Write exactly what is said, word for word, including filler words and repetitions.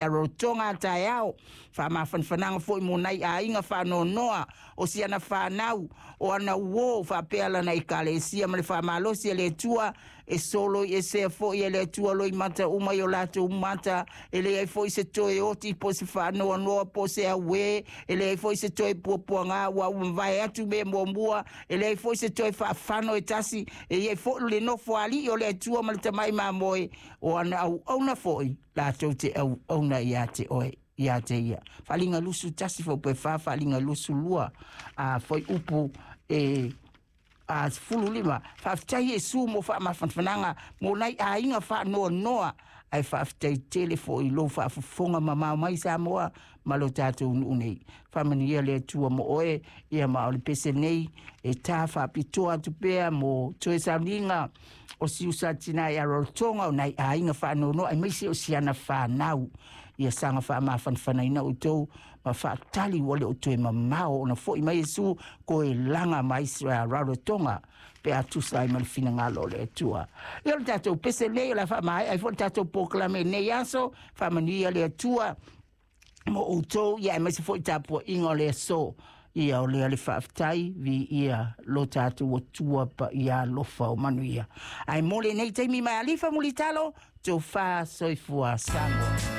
Rarotonga a taeao, faamafanafanaga foʻi mo nai aiga faanoanoa o siana fanau o ana uō faapea lana ekalesia ma le faamalosi e le Atua e solo i esea foʻi e le Atua loimata uma i o latou mata. E leai foʻi se toe oti po se faanoanoa po se auē, e leai foʻi se toe puapuagā ua ua atu mea muamua, e leai foʻi se toe faafano e tasi e iai foʻi le nofo aliʻi o le Atua ma le tamaʻi mamoe o ana auauna foʻi latou te auauna iā te oe iā te ia. Faaliga lusu tasi faupe fa, faaliga lusu lua a foi upu e a sefulu lima. Faafetai Iesu mo faamafanafanaga mo nai aiga faanoanoa, ae faafetai tele foʻi lou faafofoga mamao mai Samoa ma lo tatou nuu nei. Faamanuia le Atua mo oe ia. Ma o le pese nei e tā faapitoa atu pea mo toe sauniga o siusa tina i Rarotonga o nai aiga faanoanoa ai maise o siana fanau. Ia saga faamafanafanaina outou ma faatali ua le o toe mamao ona foʻi mai Iesu koe laga mai Rarotonga pe a tusa ai ma le finagalo o le Atua. Ia, o le tatou pese nei o le faamaea ai foʻi le tatou polokalame nei aso. Faamanuia le Atua mo outou ia aemaise foʻi tapuaʻiga o le aso. Ia o lea le faafetai viia lo tatou Atua pa ia alofa o manuia ae mo lenei taimi mai alifa mulitalo tofa soifua Samoa.